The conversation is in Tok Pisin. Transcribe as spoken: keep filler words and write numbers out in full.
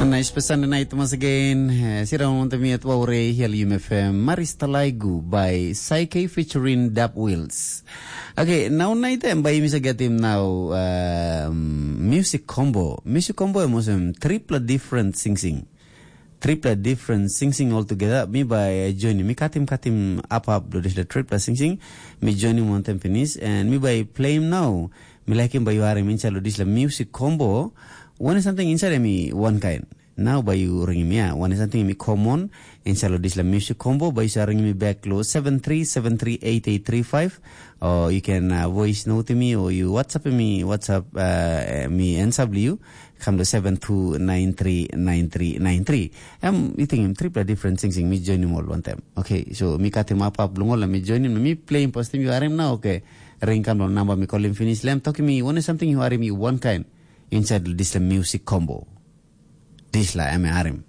Nice pa Sunday night once again. Eh, sira on te miat wa ure hial U M F M. Maris Talaigu by Psyche featuring Dap Wheels. Okay, now night em by Misa Gatim now um, music combo. Music combo em wasem triple different sing sing. Triple different sing sing all together. Mi by joining. Mi katim katim up up do this the triple sing sing. Mi joining one time finish and mi by play him now. Mi like him by you are him inside this the music combo. One is something inside mi one kind. Nau bai yu ringim ya, wan i samting mi common inside lo dispela music combo, bai yu sa ringim mi back lo seven three seven three eight eight three five, or you can uh, voice note mi or you WhatsApp mi, WhatsApp uh, mi answer you, come to seven two nine three nine three nine three. Em you think him triple different things mi join him all one time. Okay, so mi cut him up up long all mi join him, mi play him post him, you are him now, okay. Ring come lo number mi call him finish, lem talk mi one something you are him you one kind inside this music combo. Dispela em harim.